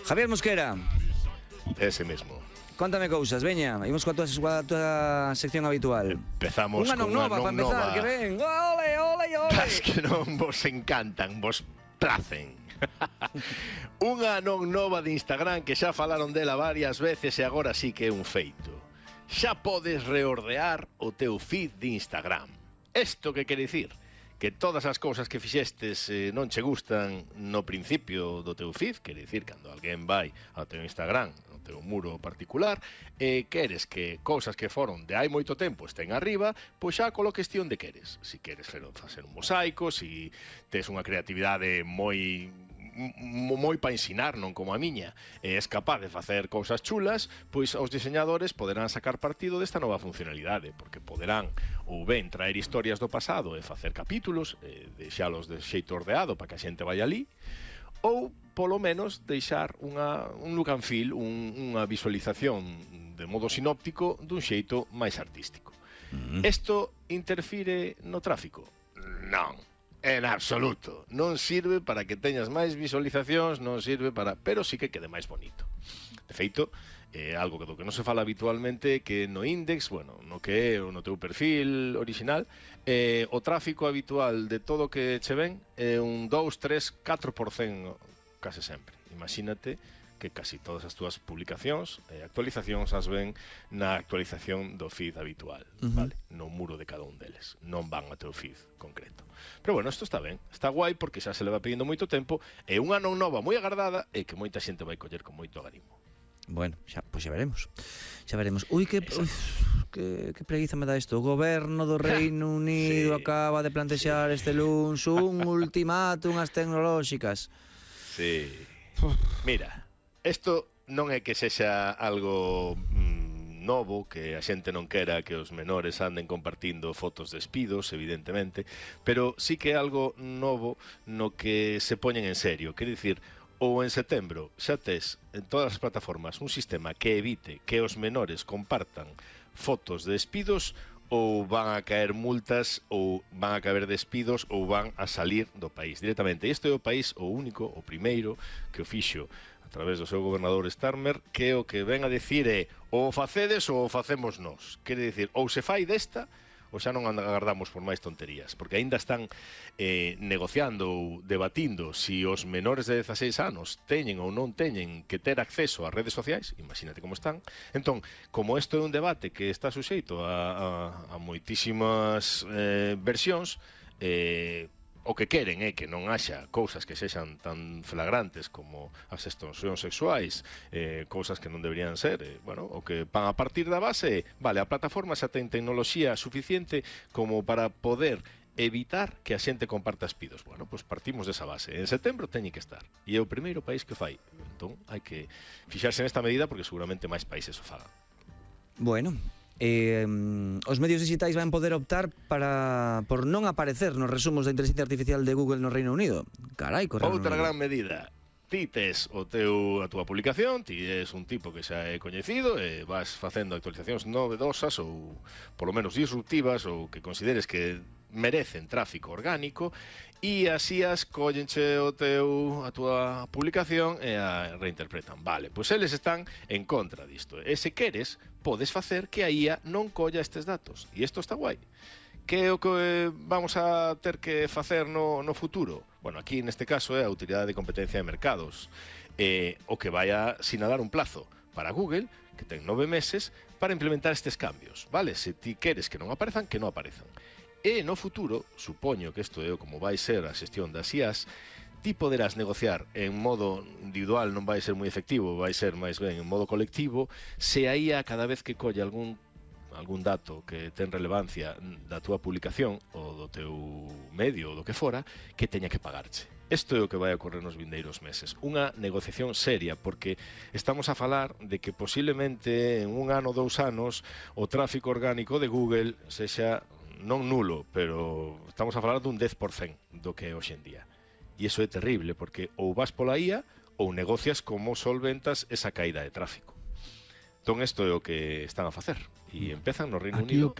Javier Mosquera. Ese mesmo. Contame cousas, veña, imos coa tua sección habitual. Empezamos unha non nova para empezar, que ven. Ole, ole, ole. As que non vos encantan, vos placen. Unha non nova de Instagram que xa falaron dela varias veces e agora sí que é un feito. Xa podes reordear o teu feed de Instagram. Isto que quere dicir? Que todas as cousas que fixestes non che gustan no principio do teu feed, quere dicir, cando alguén vai ao teu Instagram, ao teu muro particular, e queres que cousas que foron de hai moito tempo estén arriba, pois xa coloques ti onde queres. Si queres facer un mosaico, si tes unha creatividade moi para ensinar, non como a miña, e és capaz de facer cousas chulas, pois os diseñadores poderán sacar partido desta nova funcionalidade, porque poderán ou ben traer historias do pasado e facer capítulos, deixalos de xeito ordeado para que a xente vai ali, ou polo menos deixar un look and feel, unha visualización de modo sinóptico dun xeito máis artístico. Isto interfire no tráfico? Non. En absoluto. Non sirve para que teñas máis visualizacións, non sirve para... pero sí que quede máis bonito. De feito, algo do que non se fala habitualmente que no index, bueno, no que é no teu perfil original, o tráfico habitual de todo o que che ven é un 2, 3, 4% case sempre. Imagínate que casi todas as túas publicacións e actualizacións as ven na actualización do feed habitual, vale? No muro de cada un deles. Non van ao teu feed concreto. Pero bueno, isto está ben. Está guai porque xa se leva pedindo moito tempo e unha non nova moi agardada e que moita xente vai coller con moito agarimo. Bueno, pois xa veremos. Xa veremos. Ui, que preguiza me dá isto. O goberno do Reino Unido acaba de plantexar este luns un ultimátum ás tecnolóxicas. Sí. Mira, isto non é que sexa algo novo, que a xente non quera que os menores anden compartindo fotos de espidos, evidentemente, pero sí que é algo novo no que se poñen en serio. Quer dicir, ou en setembro xa tes en todas as plataformas un sistema que evite que os menores compartan fotos de espidos, ou van a caer multas, ou van a caber despidos, ou van a salir do país directamente. Este é o país o único, o primeiro, que o fixo a través do seu gobernador Starmer, que o que ven a dicir é ou facedes ou facemos nós. Quere dicir, ou se fai desta, ou xa non agardamos por máis tonterías, porque aínda están negociando ou debatindo si os menores de 16 anos teñen ou non teñen que ter acceso ás redes sociais, imagínate como están. Entón, como isto é un debate que está suxeito a moitísimas versións, o que queren é que non haxa cousas que sexan tan flagrantes como as extorsións sexuais, cousas que non deberían ser, bueno, o que van a partir da base, vale, a plataforma xa ten tecnoloxía suficiente como para poder evitar que a xente comparta espidos. Bueno, pois partimos desa base. En setembro teñen que estar. E é o primeiro país que o fai. Entón, hai que fixarse nesta medida porque seguramente máis países o fagan. Bueno, os medios digitais van poder optar por non aparecer nos resumos da inteligencia artificial de Google no Reino Unido. Carai, outra gran medida. Ti tes a túa publicación, ti és un tipo que xa é coñecido e vas facendo actualizacións novedosas ou polo menos disruptivas ou que consideres que merecen tráfico orgánico e así as collenche a túa publicación e a reinterpretan. Vale, pois eles están en contra disto. E se queres, podes facer que a IA non colla estes datos. E isto está guai. Que é o que vamos a ter que facer no futuro? Bueno, aquí neste caso é a Autoridade de Competencia de Mercados, o que vai a sinalar un plazo para Google, que ten 9 meses, para implementar estes cambios, vale? Se ti queres que non aparezan, que non aparezan. E no futuro, supoño que isto é como vai ser a xestión das IAs, ti poderás negociar en modo individual, non vai ser moi efectivo, vai ser máis ben en modo colectivo, se a IA cada vez que colle algún dato que ten relevancia da túa publicación ou do teu medio ou do que fora, que teña que pagarche. Isto é o que vai ocorrer nos vindeiros meses. Unha negociación seria, porque estamos a falar de que posiblemente en un ano, 2 anos, o tráfico orgánico de Google sexa non nulo, pero estamos a falar dun 10% do que é hoxe en día. E iso é terrible, porque ou vas pola IA ou negocias como solventas esa caída de tráfico. Entón, isto é o que están a facer. E empezan no Reino Unido